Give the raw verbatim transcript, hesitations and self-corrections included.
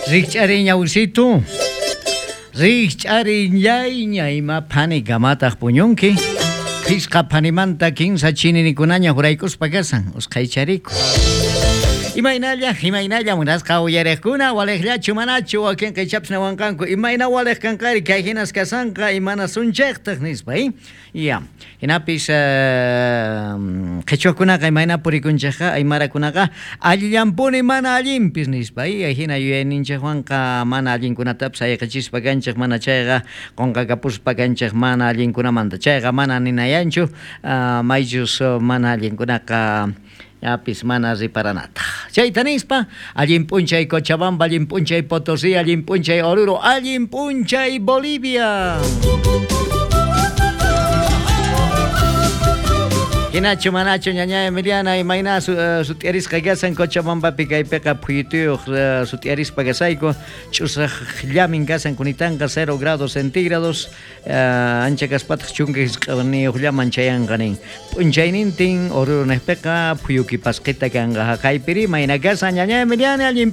Rikch'ariy ñawisitu. Rikch'arillayña ima phanikamataq puñunki. Phisqa phanimanta kinsa chininikunaña huraykuspa kasan usqhaychariku. Imaynalla, imaynalla munasqa uyariqkuna waliqllachu manachu wakinqa ichapas nawanqanku imayna waliq kanqari kay hinas kasanqa imana sunchayqtaq nispa, eh? Ya, hinapis qhichwakunaqa imayna purikunchikqa aymarakunaqa allillanpuni mana allinpis nispa, eh? Hina yuyayninchikwanqa mana allinkunatapis ayqichispa kanchik mana chayqa qunqakapuspa kanchik mana allinkunamanta chayqa mana ninayanchu maychus mana allinkunaqa yapis mana riparanataq. Chayta nispa, allin p'unchay Cochabamba, allin p'unchay Potosí, allin p'unchay Oruro, allin p'unchay Bolivia. Hinachu manachu ñaña Emiliana imayna sut'iarisqa kasan Cochabambapi kaypiqa phuyutuyuq sut'iarispa kasayku ch'usaqllamin kasan kunitanqa cero grados centígrados ancha kaspataq chunka hisq'aniyuqllaman chayanqa nin p'unchaynintin Oruro niqpiqa phuyuki pasqita kanqa haqaypiri mayna kasan ñaña Emiliana allin